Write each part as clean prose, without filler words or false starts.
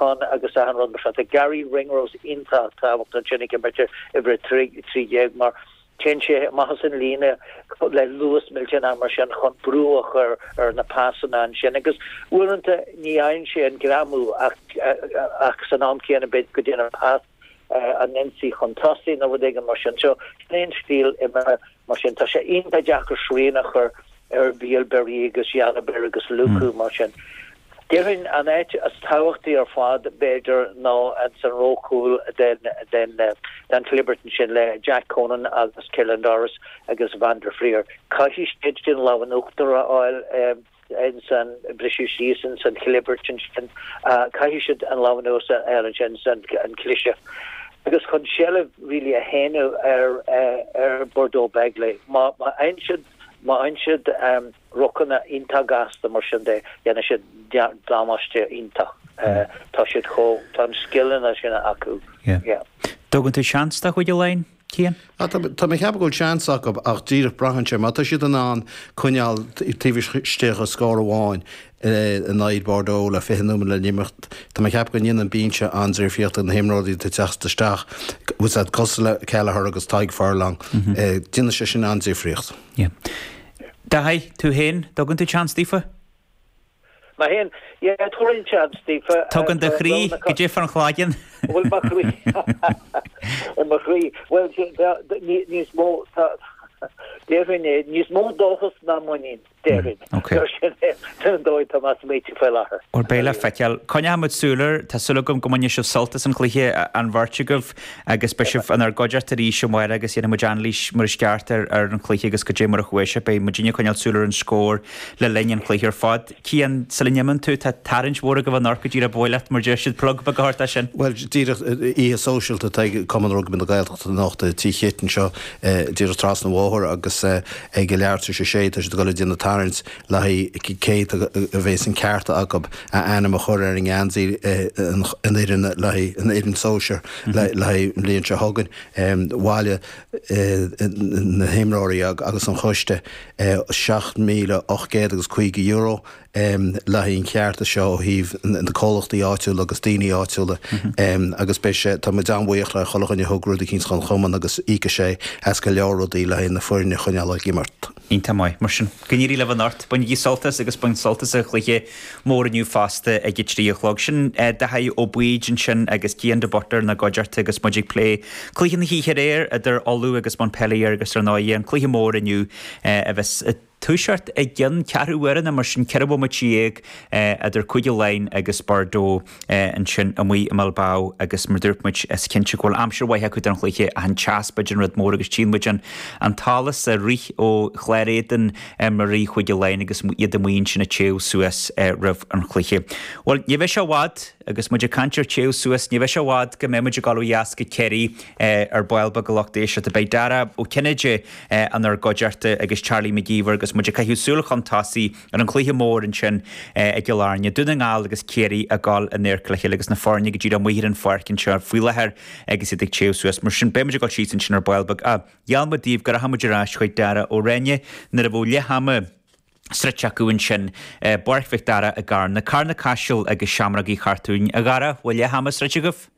Ann agus achan rud mar sin. Tá Garry Ringrose iontach tábhachtach ansin ag imirt ar uimhir 13 mar téann sé amach as an líne le luas millteanach mar sin chun brú a chur ar na pasanna ansin agus uaireanta ní fhaigheann sé an greamú ach ach san am céanna b'fhéidir go dtéann an pas an ionsaí chun tosaigh nó rud éigin mar sin. So sin é an stíl imeartha Mar sin, tá sé iontach deacair srian a chur ar Bielle-Biarrey agus Jalibert agus Lucu mar sin. Déarfainn an áit is tábhachtaí ar fad, b'fhéidir, ná ins an ró chúil den den chlibirt ansin le Jack Conan agus Caelan Doris agus Van der Flier. Caithfidh siad sin lámh in uachtar a fháil. ins an briseadh síos ins an chlibirt ansin, caithfidh siad an lámh in uachtar a fháil ansin ins an cliseadh agus chun seilbh really a shéanadh ar ar Bordeaux Bègles. Má fhaigheann siad má fhaigheann siad rucanna iontach gasta mar sin de, dhéanfaidh siad damáiste iontach. Tá siad chomh, tá an scileanna sin acu. Yeah. Dtugann tú seans do Chúige Laighean, Cian? Tá mé ag ceapadh go bhfuil seans acu ach díreach braitheann sé má tá siad in ann coinneáil taobh istigh de scór amháin in aghaidh Bordeaux le 20 nóiméad le n-imeacht, tá mé ag ceapadh go ndéanann an binse an-difríocht do na himreoirí atá ag teacht isteach, bhfuil siad cosúil le Kelleher agus Tadhg Furlong, déanann sé sin an-difríocht. Daithí, tú féin, dtugann tú seans daofa? Mé féin, yeah, tabharfainn seans daofa. Tugann do chroí go dtí an chlaigeann. Bhuel, mo chroí, mo chroí, bhuel, níos mó, déarfainn é, níos mó dóchas ná muinín, déarfainn. Ok. Sin é, sin an dóigh atá mé ag smaoitiú faoi láthair. Bhuel, beidh le feiceáil. Coinneoidh muid súil air, tá súil agam go mbainfidh sibh sult as an chluiche, an bheirt agaibh. Agus beidh sibh inár gcuideachta arís amárach agus dhéanfaidh muid anailís mar is ceart ar ar an chluiche agus goidé mar a chuaigh sé. Beidh muidinne ag coinneáil súil ar an scór le linn an chluiche ar fad. Cian, sula n-imíonn tú, tá tarraingt mhór agaibh anocht go díreach ba mhaith leat, mar deir siad, plug beag a thabhairt dó sin. Bhuel, díreach oíche sóisialta atá ag Cumann Rugbaí na Gaeltachta anocht i Tigh Chit anseo díreach trasna an bhóthair agus ag a leathuair tar éis a sé tá siad ag dul ag déanamh tarraingt le haghaidh cé a bheas an ceart acu a ainm a chur ar an ngeansaí an fhoireann le haghaidh an fhoireann sóisir le haghaidh an bhliain seo chugainn. Bhailigh na himreoirí agus an choiste €7,800 agus €50 le haghaidh an chearta seo ó thaobh na comhlachtaí áitiúla agus daoine áitiúla agus beidh sé, tá muid an-bhuíoch le chuile dhuine a thug rud eicínt chun chumann agus íocfaidh sé as go leor rudaí le haghaidh na foirne a choinneáil ag imirt. Iontach maith. Mar sin, go n-éirí libh anocht. Bainigí sult as agus bain sult as an chluiche mór inniu fosta ag a 3 a chlog. Sin Daithí Ó Baoid ansin agus Cian de Buitléar inár gcuideachta agus muid ag plé cluiche na hoíche aréir idir Ulaidh agus Montpellier agus ar ndóigh an cluiche mór inniu a bheas ag toiseacht i gcionn ceathrú uaire nó mar sin, 14 bhomaite idir Cúige Laighean agus Bordeaux. ansin amuigh i mBilbao agus mar dúirt muid is cinnte go bhfuil aimsir mhaith acu don chluiche ach an teas b'fhéidir an rud mór agus tchíonn muid an an t-allas ag rith ó chlár éadain imreoirí Chúige Laighean agus iad amuigh ansin ag téamh suas roimh an chluiche. Bhuel ní bheidh sé i bhfad agus muid ag caint ar téamh suas ní bheidh sé i bhfad go mbeidh muid ag dul ó dheas go Ciarraí ar ball beag a lucht éisteachta. Beidh Dara Ó Cinnéide inár gcuideachta agus Charlie Mac Íomhair agus muid ag caitheamh súil chun tosaigh Ar an chluiche mór ansin i gCill Airne, Dún na nGall agus Ciarraí ag dul in adharca le chéile agus na foirne go díreach amuigh ar an pháirc anseo faoi láthair agus iad ag téamh suas. Mar sin, beidh muid ag dul síos ansin ar ball beag. Ah, gheall muid daoibh go rachadh muid ar ais chuig Dara Ó Ráinne nuair a bheadh leath ama sroichte acu ansin i bPáirc Mhic Dara i gCarna. Carna Caiseal agus Seamróga Uí Chartúin. A Dhara, bhfuil leath ama sroichte agaibh?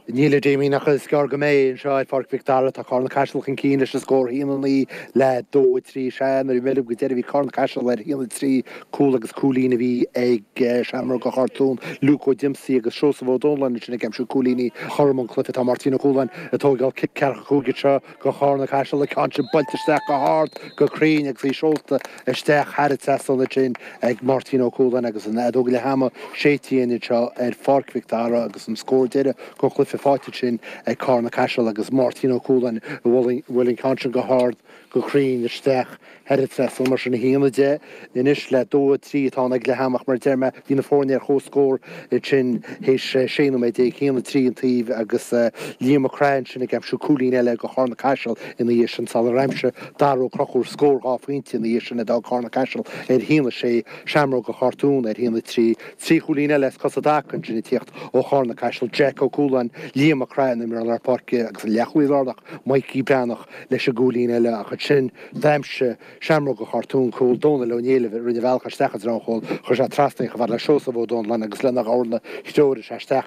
Níl a Damien ach is gearr go mbeidh anseo ar Pháirc Mhic Dara. Tá Carna Caiseal chun cinn leis an scór 1-9 le 2-3. Sea, nuair a bhí mé libh go deireadh bhí Carna Caiseal ar 1-3, cúl agus cúilín a bhí ag Seamróga Chartún, Luke Ó Diomsaí agus Seosamh Ó Dónalláin ansin ag aimsiú cúilíní chothrom an cluiche. Tá Máirtín Ó Cualáin ag tóigeáil cic ceathracha 5 anseo do Charna Caiseal, an ceann sin buailte isteach go hard, go cruinn agus í seolta isteach thar an trasnán ansin ag Máirtín Ó Cualáin agus an fheadóg leath ama séidte againn anseo ar Pháirc Mhic Dara agus an scór deiridh den chluiche faighte ansin ag Carna Caiseal agus Máirtín Ó Cualáin a bhuail an ceann sin go hard go cruinn isteach thar an trasnán mar sin 1-10 anois le 2-3 atá ann ag leath ama ach mar a deir mé bhí na foirne ar chomhscór ansin théis 16 nóiméad 1-3 an taobh agus Liam Mac Craith ansin ag aimsiú cúilín eile do Charna Caiseal ina dhiaidh sin sular aimsigh Dara Ó Conchúir scór dhá phointe ina dhiaidh sin a d'fhág Carna Caiseal ar 1-6, Seamróga Chartún ar 1-3. Trí chúilín eile as cos i dtaca ansin ag tíocht ó Charna Caiseal, Jack Ó Cualáin, Liam Mac Craith an imreoir lár páirce agus an leathchúlaí lárnach Mikey Breathnach leis an gcúilín eile ach. ansin d'aimsigh Seamróga Chartúin cúl, Dónal Ó Néillibh a rinne a bhealach isteach i dtreo an chúil, chuir sé trasna í chomh fada le Seosamh Ó Dónalláin agus lena dhorna threoraigh sé isteach.